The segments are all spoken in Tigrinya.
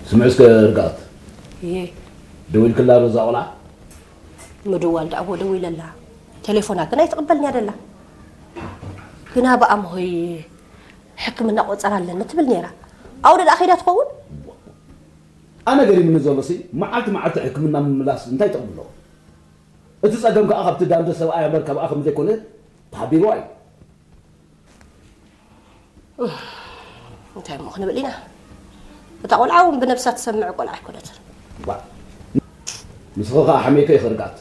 ስምዒ እስከ ርግኣት። እየ። ደዊልክላ ዶ እዛ ቆልዓ? ምድዋል ደኣ እዎ ደዊለላ። ቴሌፎና ግን ኣይትቕበልን እያ ደላ። ግና ብኣምሆይ ሕክምና ቆጸራ ኣለኒ ትብል ነይራ። ኣውደ ደኣ ከይዳ ትኸውን? ኣነ ገሪምኒ ዘሎ ሲ፣ መዓልቲ መዓልቲ ሕክምና ምምላስ እንታይ ጥቕሚ ኣለዎ? እቲ ጸገም ከኣ ካብቲ ዳንደ ሰብኣይ እምበር ካብኣ ከም ዘይኮነ ተሓቢርዋ እዩ። እንታይ እሞ ክንብል ኢና? እታ ቆልዓ እውን ብነብሳ ትሰምዕ ቆልዓ ኣይኮነትን። ዋ፣ ንስኺ ከኣ ሓሜከ ይኽርጋት።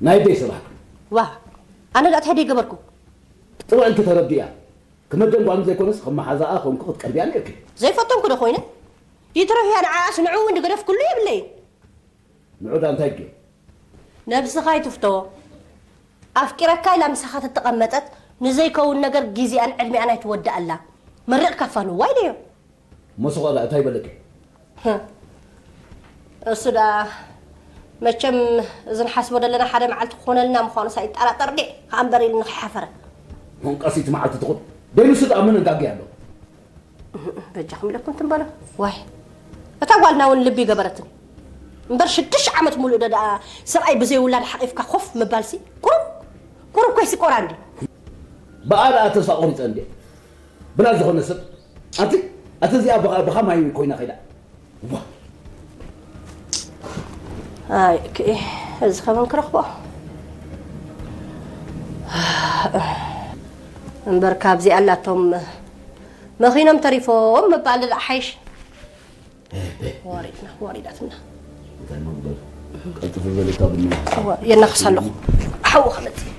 ናይ ደይ ሰባሕኪ። ዋ፣ ኣነ ደኣ እንታይ ደይ ገበርኩ? ጥውዕልኪ ተረዲያ። ክመደን ጓል ዘይኮነስ ከም መሓዛኣ ኮንኩ ክትቀርብያ ነይርኪ። ዘይፈተንኩ ዶ ኮይነ? ይትረፍያ ንዓኣስ ንዕኡ እውን ዝገደፍኩሉ የብለይን። ንዑዳ እንታይ ጌ? ነብስኻ ኣይትፍቶ። ኣፍቂረካ ኢላ ምሳኻ ተተቐመጠት ንዘይከውን ነገር ግዜኣን ዕድሜኣን ኣይትወድኣላ። መሪቕካ ፋንዋ ኢለዮ። መሱቐላ እንታይ በለኪ? ህም። እሱ ደኣ መቸም እዚ ንሓስቦ ዘለና ሓደ መዓልቲ ክኾነልና ምዃኑስ ኣይጠራጠር ድየ? ከኣ እምበር ኢሉ ንኸይሓፈረ። ሞንቃሲት መዓልቲ ትኹን። ደይንሱ ደኣ ምን ጋጊ ኣሎ? በጃኹም ኢለኩም ትንበሎ። ዋይ፣ እታ ጓልና እውን ልቢ ገበረትኒ። እምበር ሽዱሽተ ዓመት ሙሉእ ዶ ደኣ ሰብኣይ ብዘይ ውላድ ሓቒፍካ ኮፍ ምባልሲ? ቁሩብ፣ ቁሩብ ኮይሲ ቆራ እንዲ። ብኣ ደኣ ተስፋ ቆሪጸ እንዲ። ብላ ዝኾነ ሰብ፣ ኣቲ፣ ኣቲ እዚኣ ብኻ-፣ ብኻ ማይ ኮይና ከይዳ። ዋ። ኣይ፣ ክኢ፣ እዚ ከመን ክረኽቦ? እምበር ካብዚ ኣላቶም መኺኖም ተሪፎም ምባል ደኣ ሓይሽ። ወሪድና፣ ወሪዳትና። እንታይ መጉደል? ቀልጥፍ በል እታ ቡና። እዋ፣ የናኽስ ኣለኹ። ሓዊ ከመጽእ።